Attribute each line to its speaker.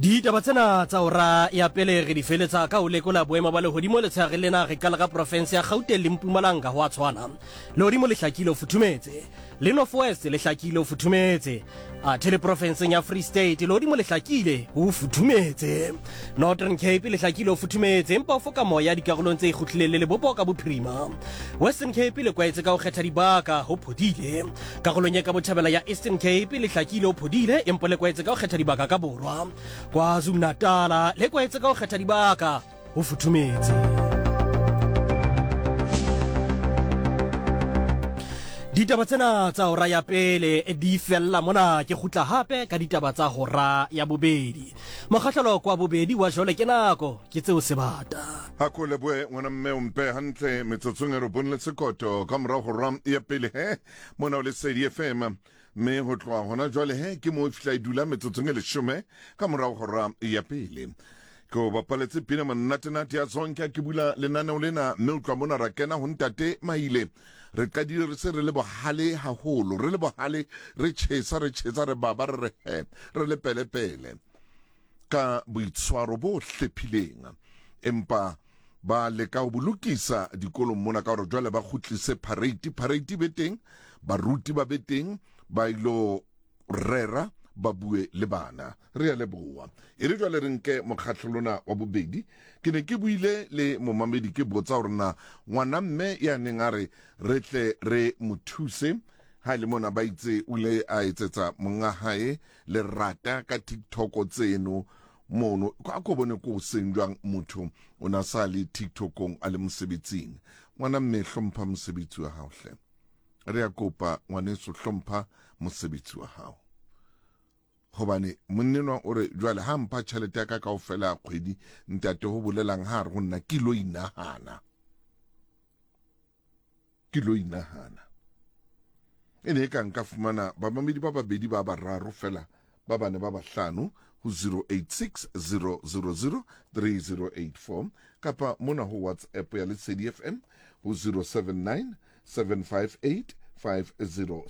Speaker 1: Ditaba tsena tsa hora ya pele re di feletsa ka ho lekola boemo ba lehodimo letshehare lena. Re qala ka profense ya Gauteng le Mpumalanga, ho a tshwana. Lehodimo le hlakile ho futhumetse. Le North West le hlakile ho futhumetse. Athe le profenseng ya Free State lehodimo le hlakile ho futhumetse. Northern Cape le hlakile ho futhumetse empa ho foka moya dikarolong tse ikgutlileng le lebopo ka bophirima. Western Cape le kwaetse ka ho kgetha dibaka ho phodile. Karolong e ka botjhabela ya Eastern Cape le hlakile ho phodile empa le kwaetse ka ho kgetha dibaka ka borwa. KwaZulu-Natal le kwaetse ka ho kgetha dibaka ho futhumetse. Ditaba tsena tsa hora ya pele di fella mona, ke kgutla hape ka ditaba tsa hora ya bobedi. Mokgahlelo kwa bobedi wa jole ke nako ke tseo sebata.
Speaker 2: A ko lebohe ngwana mme o mpe hantle metsotsong e robong le sekoto ka morago hora ya pele he mona o Lesedi FM mme ho tloha hona jwale he ke moo e fihla e dula metsotsong e leshome ka morago hora ya pele. Ke o bapaletse pina monnatenate ya Zonke ke bula lenaneo lena mme o tloha mona ra kena ho ntate Maile. Re qadile re se re le bohale haholo, re le bohale, re tjhesa, re tjhesa, re baba, re re he, re le pelepele ka boitshwaro bo hlephileng. Empa ba leka ho bo lokisa dikolong mona ka hore jwale ba kgutlise parade, parade be teng, baruti ba be teng, ba ilo rera ba bue le bana. Re a leboha. E re jwale re nke mokgahlelo lona wa bobedi. Ke ne ke buile le momamedi ke botsa hore na ngwana mme ya neng a re re tle re mo thuse ha e le mona ba itse o ile a etsetsa monga hae lerata ka TikTok tseno mono. A ko bone ko seng jwang motho o na sa le TikTokong a le mosebetsing. Ngwana mme hlompha mosebetsi wa hao hle. Re a kopa ngwaneso hlompha mosebetsi wa hao. Hobane monnenwa o re jwale ha mpha tjhelete ya ka kaofela ya kgwedi ntate ho bolelang ha re ho nna ke lo inahana. Ke lo inahana. E ne e ka nka fumana bamamedi ba babedi ba bararo fela ba bane ba bahlano ho 0860003084 kapa mona ho WhatsApp ya Lesedi FM ho 079 758 50.